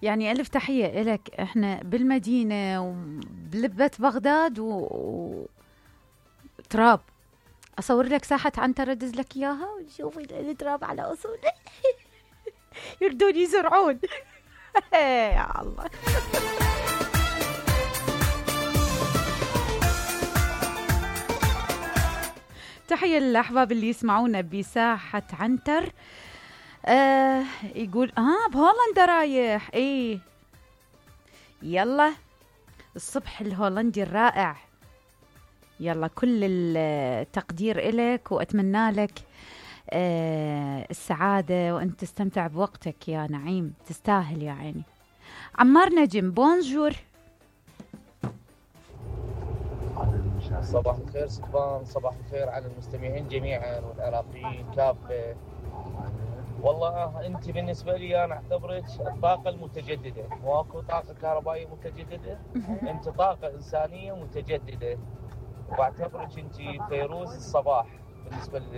يعني ألف تحية إلك. إحنا بالمدينة وبلبة بغداد تراب. أصور لك ساحة عنتر أدز لك إياها وشوفي التراب على أصوله. يردون يزرعون. يا الله. تحية للأحباب اللي يسمعونا بساحة عنتر. يقول بهولندا رايح. ايه يلا الصبح الهولندي الرائع. يلا كل التقدير إلك وأتمنى لك السعادة وأنت تستمتع بوقتك يا نعيم. تستاهل يا عيني. عمار نجم بونجور. صباح الخير سكبان، صباح الخير على المستمعين جميعا والعراقيين كافة. والله انت بالنسبة لي انا اعتبرك الطاقة المتجددة، واكو طاقة كهربائية متجددة، انت طاقة انسانية متجددة، واعتبرك انت فيروز الصباح بالنسبة لي.